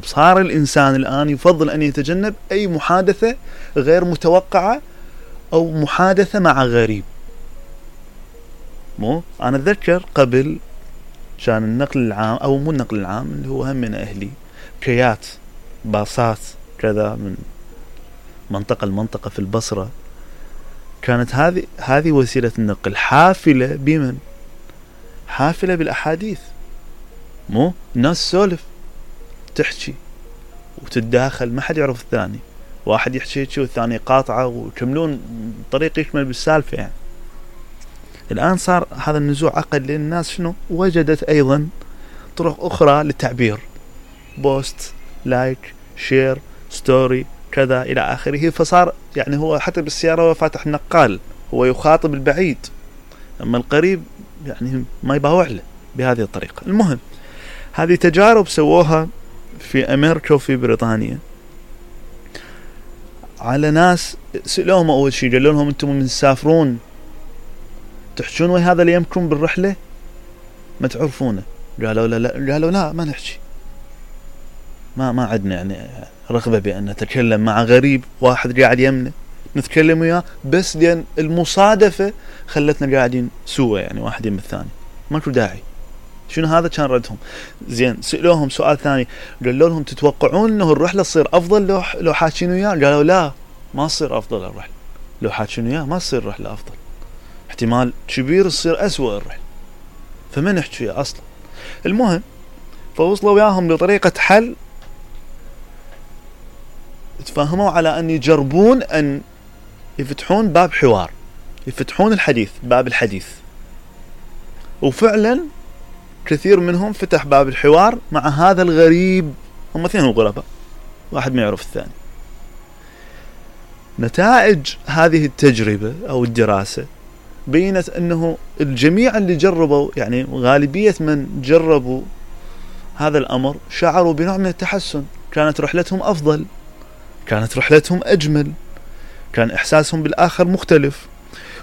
صار الإنسان الآن يفضل أن يتجنب أي محادثة غير متوقعة أو محادثة مع غريب. مو أنا أتذكر قبل كان النقل العام أو مو النقل العام اللي هو هم من أهلي كيات باصات كذا من منطقة لمنطقة في البصرة، كانت هذه وسيلة النقل حافلة بمن؟ حافلة بالأحاديث. مو الناس سولف تحكي وتتداخل، ما حد يعرف الثاني، واحد يحكي والثاني قاطعه ويكملون طريق يكمل بالسالفة. يعني الآن صار هذا النزوع أقل لأن الناس شنو وجدت أيضا طرق أخرى للتعبير، بوست، لايك، شير، ستوري، كذا إلى آخره. فصار يعني هو حتى بالسيارة هو فاتح نقال، هو يخاطب البعيد، أما القريب يعني ما يباوع له بهذه الطريقة. المهم هذه تجارب سووها في أمريكا وفي بريطانيا على ناس سألوهم أول شيء قالوا لهم أنتم من تسافرون تحجون ويا هذا اللي يمكن بالرحلة ما تعرفونه؟ قالوا لا، قالوا لا ما نحكي، ما عندنا يعني رغبة بأن نتكلم مع غريب واحد قاعد يمنا نتكلم وياه، بس لأن المصادفة خلتنا قاعدين سوا يعني واحد يم الثاني، ماكو داعي. شنو هذا كان ردهم. زين سألوهم سؤال ثاني قالوا لهم تتوقعون انه الرحلة تصير افضل لو حاكين وياه؟ قالوا لا ما تصير افضل الرحلة لو حاكين وياه، ما تصير الرحلة افضل، احتمال كبير تصير اسوأ الرحلة، فما نحكي وياه اصلا. المهم فوصلوا وياهم بطريقة حل، تفهموا على ان يجربون ان يفتحون باب حوار، يفتحون الحديث، باب الحديث. وفعلا كثير منهم فتح باب الحوار مع هذا الغريب، هم اثنين غرباء واحد ما يعرف الثاني. نتائج هذه التجربة أو الدراسة بينت أنه الجميع اللي جربوا، يعني غالبية من جربوا هذا الأمر شعروا بنوع من التحسن، كانت رحلتهم أفضل، كانت رحلتهم أجمل، كان إحساسهم بالآخر مختلف.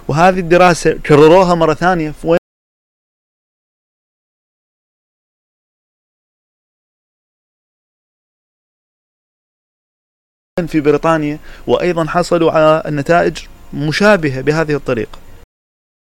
وهذه الدراسة كرروها مرة ثانية في بريطانيا، وأيضا حصلوا على النتائج مشابهة بهذه الطريقة.